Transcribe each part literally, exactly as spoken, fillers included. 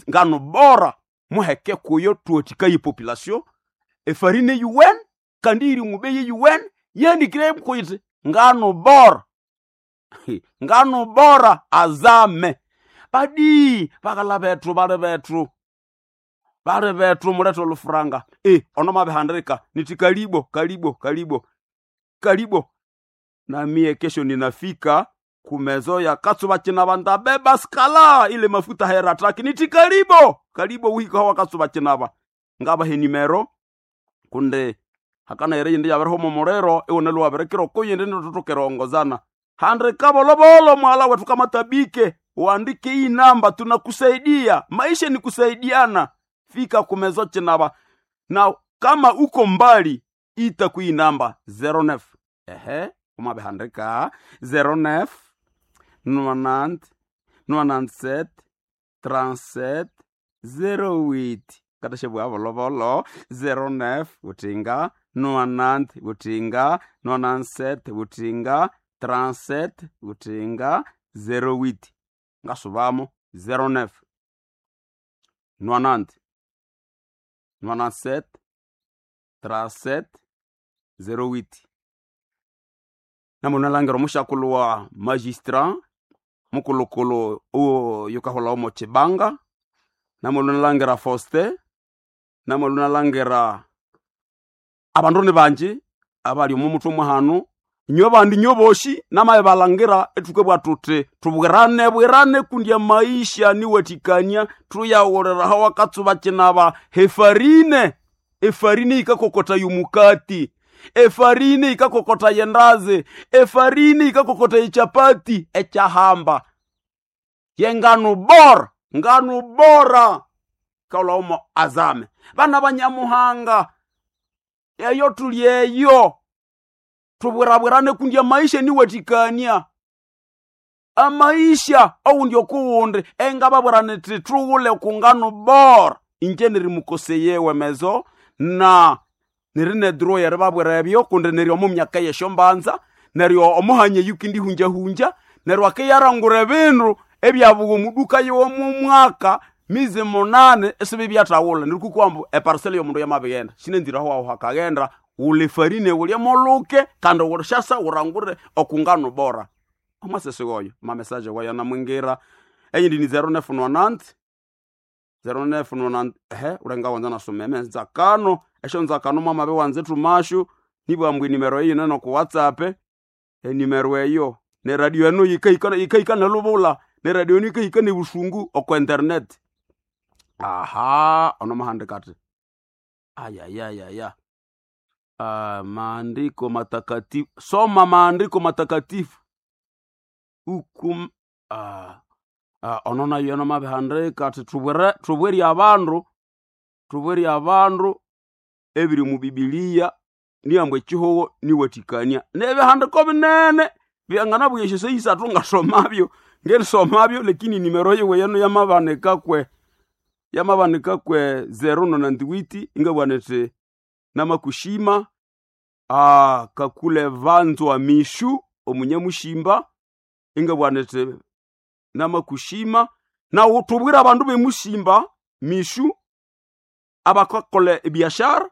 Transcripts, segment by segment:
Ngano bora muheke kuyo tuwatikaye population efarine yuwene kandi iri mubeye yuwene yandikire kuiti ngano bora. Ngano bora azame badi bagala bethu bali bethu bali bethu mulethe olufuranga e ono mabihandika niti kalibo kalibo kalibo kalibo namie kesho ninafika kumezo ya katsuba chinaba ndabeba skala ile mafuta herataki niti kalibo kalibo wihika hawa katsuba chinaba ngabahe nimero kunde hakana ere yindi yabiriho momurero iwone luwabirekera okuyindi nitutukerongozana handika bolobolo mwala wetu kama tabike uandike hii namba tunakusaidia maisha ni kusaidiana fika kumezo chinaba na kama uko mbali ita kui namba zero nine ehe umabihandika zero nine nonante nonante-sept trente-sept zero huit katashebwa bolobolo zero nine butinga nonante butinga nonante-sept butinga trente-sept butinga zero huit ngasubamo zero nine nonante nonante-sept trente-sept zero huit namunalangira omushakulu wa magistrat mukulukulu uwo yukahola omo chibanga namunalangira Faustin namunalangira abandu ni banji abali omu mutwe mwahanu inywe bandi inywe boshi namaye balangira ethuke tuti tubwirane bwirane kundi amaisha niwathikania thuyaghulira hawa katsuba kinaba hefarine efarine yikakokota yomukati efarine yikakokota yendazi efarine yikakokota yechapati ekyahamba yengano bora ngano bora kaulaomo azame bana banyamuhanga eyo tuli eyo tubwirabwirane kundi amaisha niwathikania amaisha oundi okuwundi engababwirane ti thughule kungano bora inje nirimukoseyewe mezo na niri neduro yeribabwira ebyo kundi neri omu myaka yesyo mbanza neryo omuhanya eyukindihunjahunja neryo akiyarangura ebindu ebyabuwa omuduka yomu mwaka mizi munane isibi byathawula neryo kukwambu eparcel yomundu yamabighenda sinenzire aho hakaghenda wula efarine wulye muluke kandi wushasa wurangure okungano bora omwasese woyo mamesaje wayo anamwingira eyindi ni zero nine nonante zero nine nonante ehe ulenga wanza nasoma emenzakano esyo nzakano mwamabe wanze thumashu nibwambwa enimero eyi neno ku whatsapp enimero eyo neradio eno yikahika yikahika nelubula neradio eno yikahika nebusungu oko internet aha ono mahandika ati ayayayaya Ah, maandiko matakatifu soma maandiko matakatifu ukum ah, ah, ono nayo eno mabihandika ati thubwere thubwere abandu thubwere abandu ebiri mu bibiliya niyambwa ekihogo niwathikania nebihandiko binene byanganabugha esyo isathu ngasomabyo ngerisomabyo lakini nimero yiwe yeno yamabanika kwe yamabanika kwe zero nonantiwiti ingabugha nithi namakushima ah, kakule vanzwa mishu omunyamushimba ingabugha nithi namakushima nawu thubwire abandu bemushimba mishu abakakolha ebiashara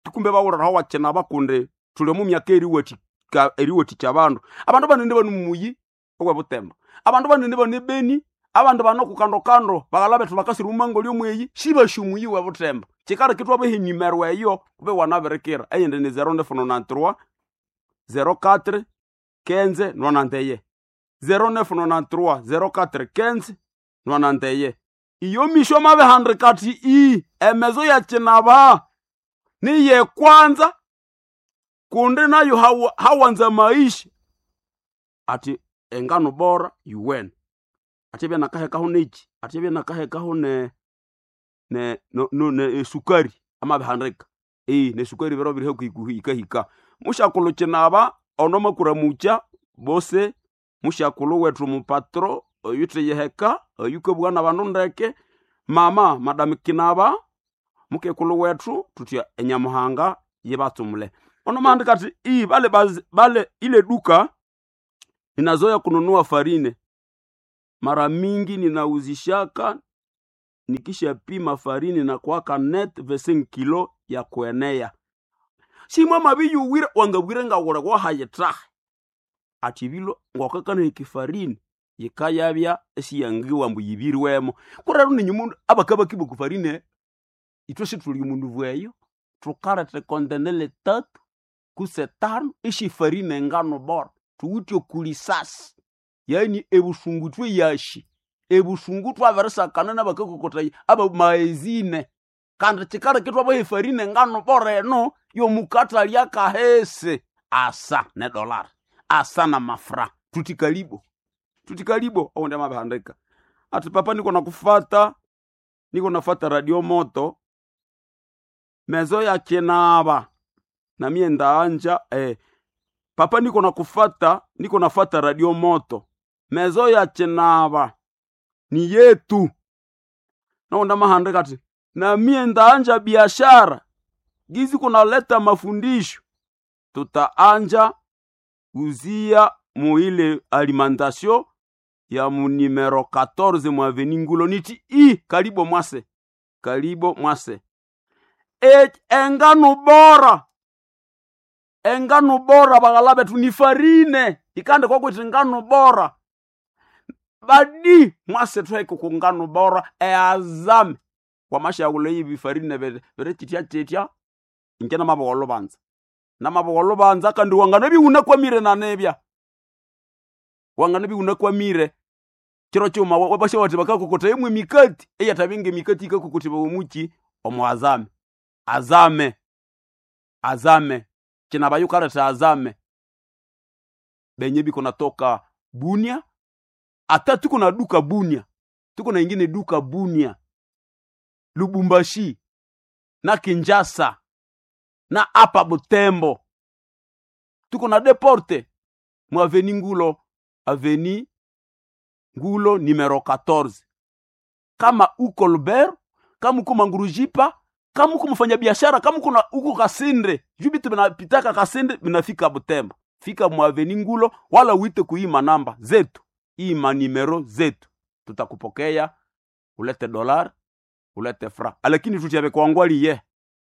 tukumbe bawuliraho wakyina bakundi thuli omu myaka eriwathika eriwathikya abandu abandu banene bano mumuyi owebutemba abandu banene bano ebeni abandu bano kukandokando baghala bethu bakasira omumango lyomweyi sibasi omuyi webutemba kyikaleka ithwabaha enimero eyo kube wanabirikira eyindi ni zero nine nonante-trois zero quatre quinze nonante-un zero nine nonante-trois zero quatre quinze nonante-un iyo misho mabihandika athi i emezo yakyinaba niyekwanza kundi nayo hawa- hawanza maisha ati engano bora yuwene athibya nakahekaho neki athibya nakahekaho ne ne no, no, ne esukari amabihandika eh nesukari biro biri hakuhi hikahika mushakulhu kinaba ono makuramukya bose mushakulhu wethu mupatro oyuthiyiheka oyukabugha nabandu ndeke mama madam kinaba mukekulhu wethu thuthya enyamuhanga yibatsumule ono mahandika athi i bale baz, bale ile duka ninazoya kununua farine mara mingi ninauzishaka Nikishapima farini na kuwaka net vingt-cinq kilo ya kuenea. Simwa mabiyuwire wangabwire ngawule wahayitaha. Ati ebilo ngwakakana ekifarini yikayabya esiyangiwa ambu yibirwemo. Kurero ninyu mundu abakabakibwa okufarine ithwe sithuli omundu bweyo thukaleta ekontenela etatu kutse etanu esyefarine engano bora thuwithe okulisasi yaani ebusungu ithwe yashi ebusungu thwabirisakana nabakakokotaya abamaezine kandi kyikaleka ithwabaha efarine engano bora eno yomukathalya akahisi asa nedollar asa namafra thuthi kalibo thuthi kalibo owundi amabihandika athi papa niko nakufata niko nafata radio moto mezo yakinaba namiye ndaanja eh, papa niko nakufata niko nafata radio moto mezo yakinaba ni yetu nowundi amahandika athi namiye ndaanja biashara gizi kunaleta mafundisho tutaanja uzia muile alimentation ya mu numero quatorze mu avenue Ngulo niti i kalibo mwase kalibo mwase e, engano bora engano bora baghala bethu ni farine ikande kwakuthi ngano bora badi mwase thweke ku ngano bora eazame wamashaghula ibi farine bere chitya chitya inje namabogolo banza namabogolo banza kandi wangana biwunakwamire nanebya wangana biwunakwamire chiro chuma wabasha bati bakakokota imwe mikati eyatabinga emikati ikakokotebwa omuki omu azame azame azame kinabayukaleta azame benye biko natoka Bunia ata tuko na duka Bunia tuko na ingine duka Bunia Lubumbashi na Kinshasa na apa Butembo tuko na deporte mu avenue Ngulo avenue Ngulo numero quatorze. Kama uko Lubero, kama uko Mangurujipa, kama uko mfanyabiashara, kama uko na uko Kasinde, juu bitu binapitaka Kasinde binafika Butembo. Fika mu avenue Ngulo wala uite kuima namba zetu, ima numero zetu. Tutakupokea, ulete dolar, ulete fra. Lakini tuti yabekwangwali ye.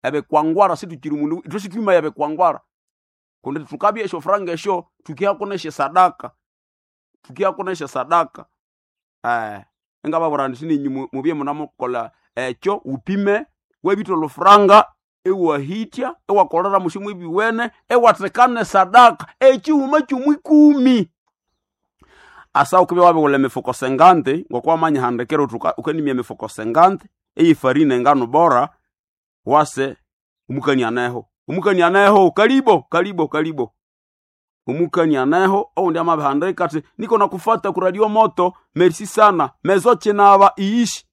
Yabekwangwara si tukiri mundu, tusi twima yabekwangwara. Kundi tukabye esho franga esho tukihakoneshe sadaka. Tukihakoneshe sadaka. Eh, engababura nti ninyu mubye munamukola ekyo upime webitolo lufranga ewahitya ewakolera mushimu ibiwene ewatekane sadaka ekiwuma kyumwikumi asa ukubya wabighula emifuko sengante ngokwamanya handikira uthi ukanimya emifuko sengante eyifarine engano bora wase umukanianeho umukanianeho kalibo kalibo kalibo umukanianeho oundi amabihandika ati niko nakufata ku radio moto merci sana mezo chinaba iishi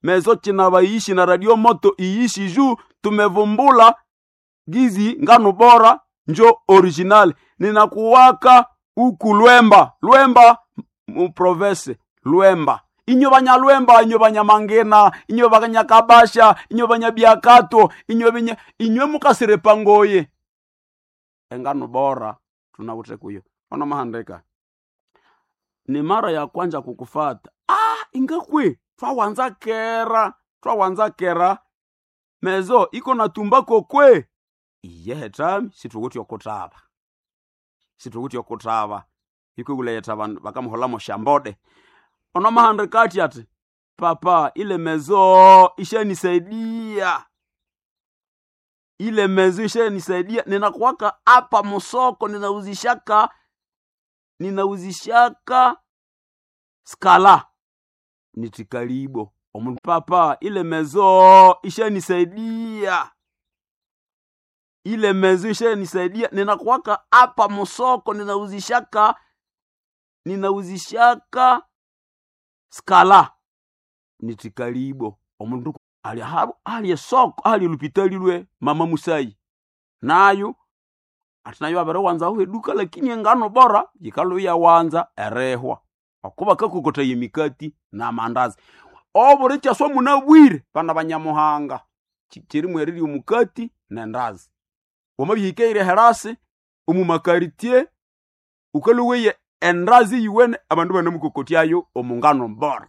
mezo chinaba iishi na radio moto iishi juu tumevumbula gizi ngano bora njo original ninakuwaka uku Lwemba Lwemba mu province Lwemba inyo banyalwemba inyo banyamangena inyo banyakabasha inyo banyabiakato inyo binya inyo mukasirepangoye engano bora tunawute kuyo ona mahandika ni mara ya kwanja kukufata ah ingakwe twawanza kera twawanza kera mezo iko na tumbako kwe iyehe tami situkuti okutaba situkuti okutaba ikwiguleyetha bandu bakamuholamo shambode ono mahandika ati ati papa ile mezo ishanisaidia ile mezo ishanisaidia ninakuwaka hapa musoko ninauzishaka ninauzishaka skala nitikalibo omuntu papa ile mezo ishanisaidia ile mezo ishanisaidia ninakuwaka hapa musoko ninauzishaka ninauzishaka skala nitikalibo omundu ali habu ali esoko ali lupitali lwe mama musayi nayo ati nayo abere wanza aho eduka lakini engano bora yikaluya wanza erehwa okuba kakokota yemikati n'amandazi obuli kyaswa munabwire bana banyamuhanga kirimu erirya omukati nendazi wamabihikeire herasi omu makaritie ukaluweye endazi yiwene abandu banamukokotyayo omungano bora.